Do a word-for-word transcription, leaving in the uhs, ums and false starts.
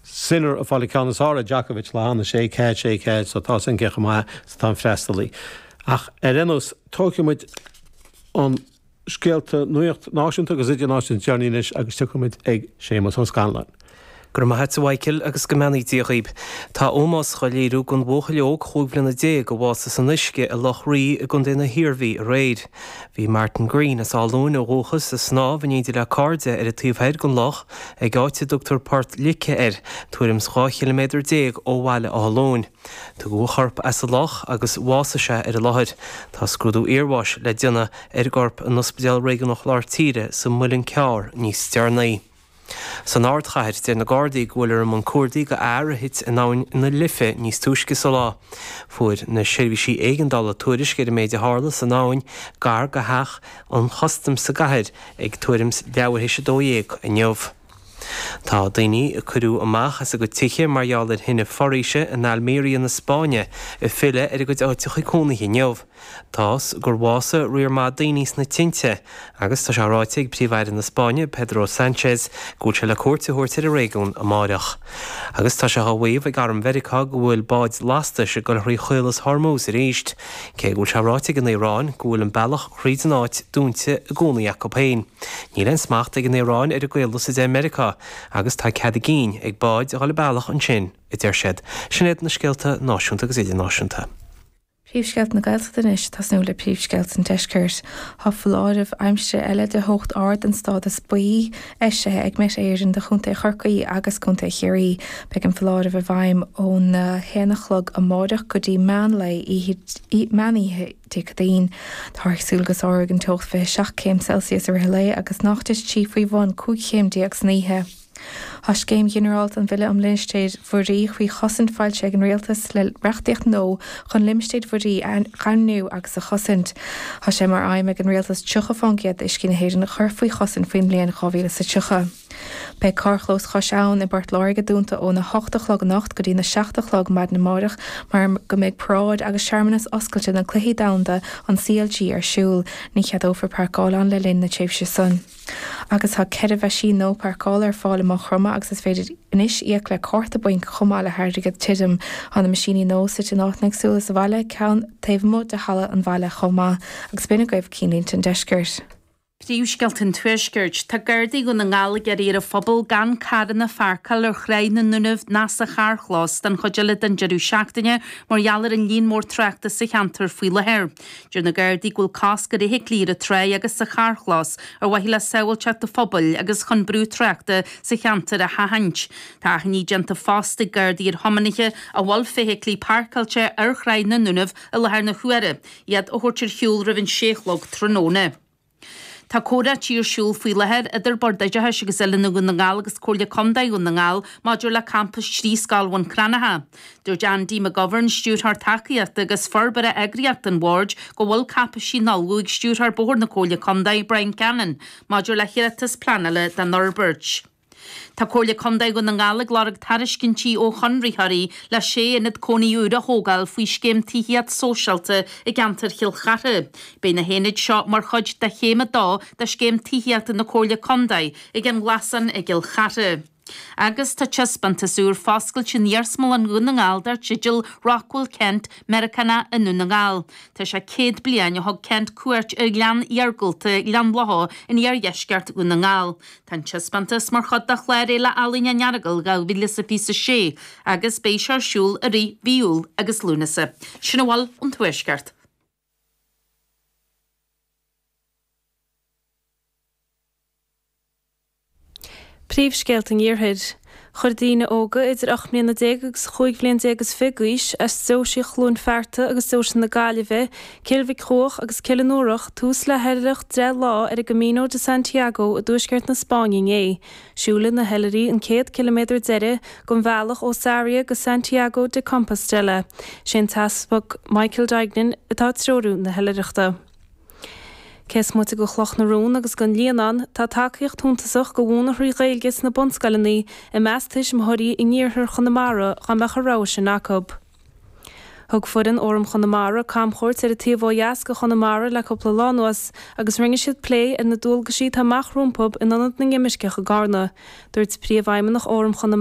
Sinner ag fáil an ceann is fearr ar Djokovic lá cheana, sé ceathair, sé ceathair, so tá san aige chomh maith is atá an freastalaí. Ach ar aon nós, tógfaidh muid an scéalta nuacht náisiúnta agus idirnáisiúnta is deireanaí anois agus tiocfaidh muid ag Séamus Ó Scanláin. Go raibh maith a't a Mhichael agus go mbeannaí Dia dhaoib. Tá ómós dhá léiriú don bhuachaill óg chúig bhliana déag a bhásaigh san uisce i Loch Rí i gContae na hIarmhí aréir. Bhí Martin Green as Áth Luain ó dhúchas ag snámh in éindí le cairde ar an taobh thoir den loch ag áit a dtugtar Port Lice air, tuairim 's dhá chiliméadar déag ó bhaile Átha Luain. Tugadh a chorp as an loch agus bhásaigh sé ar an láthair. Tá scrúdú iarbháis le déanamh ar an gcorp in Ospidéal Réigiúnach Lár Tíre sa Muileann Cearr níos deireanaí. San ardchathair, deir na Gardaí go bhfuil ar a mbun cuardaigh do fhear a thit in abhainn na Life níos túisce sa lá. Fuair na seirbhísí éigeandála tuairisc ar an méid a tharla san abhainn gar do theach an chustaim sa gcathair ag tuairim 's leathuair théis a dó dhéag inniu. Tá daoine a cuireadh amach as a gcuid tithe mar gheall ar thine foraoise in Almeria na Spáinne ag filleadh ar a gcuid áiteacha cónaithe inniu. Tá's gur bhásaigh riar maith daoine sna tinte agus tá sé ráite ag Príomh-Aire na Spáinne, Pedro Sánchez, go bhfuil sé le cuairt a thabhairt ar an réigiún amáireach. Agus tá sé á mhaíomh ag Arm Mheiriceá go bhfuil báid lastais ag dul thrí Chaolas Hormuz arís, cé go bhfuil sé ráite ag an Iaráin go bhfuil an bealach thríd an áit dúnta i gcónaí acu féin. Níl aon smacht ag an Iaráin ar an gcaolas a deir Meiriceá agus tá cead a gcinn ag báid a dhul an bealach ansin, a deir siad. Sin iad na scéalta náisiúnta agus idirnáisiúnta. Príomhscéalta na Gaeltachta anois, tosnú le príomhscéalta an Deiscirt. Tá foláireamh aimsire eile de theocht ard den stádas buí eisithe ag Met Éireann do Chontae Chorcaí agus Contae Chiarraí. Beidh an foláireamh i bhfeidhm óna haon a chlog amáireach go dtí meán lae meán oíche Dé Céadaoin. Táthar ag súil go sáróidh an teocht fiche seacht céim Celsius i rith an lae agus nach dtitfidh sí faoi bhun cúig chéim déag san oíche. Tá Scéim Ghinearálta an Bhille um Limistéir Mhuirí faoi Chosaint foilsithe ag an Rialtas le reachtaíocht nua chun limistéir mhuirí a dhaingniú agus a chosaint. Tá sé mar aidhm ag an Rialtas tríocha faoin gcéad d'uiscí na hÉireann a chur faoi chosaint faoin mbliain dhá mhíle is a tríocha. Beidh carrchlós Chois Abhann i bPort Láirge dúnta óna hocht a chlog anocht go dtí na seacht a chlog maidin amárach mar go mbeidh paráid agus searmanas oscailte na Cluichí Domhanda an C L G ar siúl. Ní cheadófar páirceáil ann le linn na tréimhse san. Agus tá ceithre mheaisín nua páirceála ar fáil i Maigh Chromtha agus is féidir anois íoc le cárta bainc chomh maith le hairgead tirim. Tá na meaisíní nua suite in áiteanna éagsúla sa bhaile, ceann taobh amuigh de halla an bhaile chomh maith. Agus b'in agaibh cinnlínte an deiscirt. Príomhscéalta an Tuaiscirt. Tá Gardaí Dhún na nGall ag iarraidh ar an phobal gan carranna a pháirceáil ar Thráigh na nDúnaibh ná sa charrchlós don chuid eile den deireadh seachtaine mar gheall ar an líon mór tráchta sa cheantar faoi láthair. Deir na Gardaí go bhfuil cosc ar fheithiclí ar an tráigh agus sa charrchlós ar mhaithe le sábháilteacht an phobail agus chun brú tráchta sa cheantar a sheachaint. Tá achainí déanta fosta ag Gardaí ar thiománaithe a bhfuil feithiclí páirceáilte ar Thráigh na nDúnaibh i láthair na huaire, iad a thabhairt ar shiúl roimh an sé a chlog tráthnóna. Tá comhráití ar siúl faoi láthair idir Bord Oideachais agus Oiliúna Dhún na nGall agus Comhairle Contae Dhún na nGall maidir le campas trí scoil Bhun Cranncha. Dúirt Andy McGovern, Stiúrthóir Tacaíochta agus Forbartha Eagraíochta an Bhoird, go bhfuil cáipeisí in ullmhú ag Stiúrthóir Bóthair na Comhairle Contae, Brian Cannon, maidir le hiarratas pleanála don fhorbairt. Tá Comhairle Contae Dhún na nGall ag lorg tairiscintí ó chonraitheoirí le sé ionad cónaí úr a thógáil faoi scéim tithíocht sóisialta i gceantar Chill Chartha. Beidh na haonaid seo mar chuid de chéim a dó de scéim tithíochta na Comhairle Contae ag an nGlasán i gCill Chartha. Agus tá taispeántas úr foscailte in Iarsmalann Dhún na nGall dar teideal Rockwell Kent, Meiriceánach i nDún na nGall. Tá sé céad bliain ó thug Kent cuairt ar ghleann iargúlta Ghleann Locha in iardheisceart Dhún na nGall. Tá an taispeántas mar chuid de chlár Fhéile Ealaíne an Earagail dhá mhíle is a fiche a sé agus beidh sé ar siúl i rith mhí Iúil agus Lúnasa. Sin a bhfuil ón Tuaisceart. Príomhscéalta an Iarthair. Chuir daoine óga idir ocht mbliana déag agus chúig bhliain déag is fiche d'aois as deoisí Chluain Fearta agus deoise na Gaillimhe, Cill Mhic Cuach agus Cill an Iúrach tús le hoilithreacht deich lá ar an gCamino de Santiago i dtuaisceart na Spáinne inné. Siúlfaidh na hoilithrigh an céad ciliméadar deiridh den bhealach ó Sarria go Santiago de Compostela. Sé an tEaspag Michael Duignan atá ag treorú na hoilithreachta. Cé is moite de Chloch na Rón agus den Líonán, tá tacaíocht shuntasach do mhúineadh trí Ghaeilge sna bunscoileanna i measc tuismitheoirí in iarthar Chonamara dá mbeadh an rogha sin acu. Thug foireann Fhóram Chonamara camchuairt ar an taobh ó dheas de Chonamara le cúpla lá anuas agus rinne siad plé ar na dualgaisí atá amach rompu in Ionad na nImirceach i gCarna. Dúirt Príomhfheidhmeannach Fhóram Chonamara,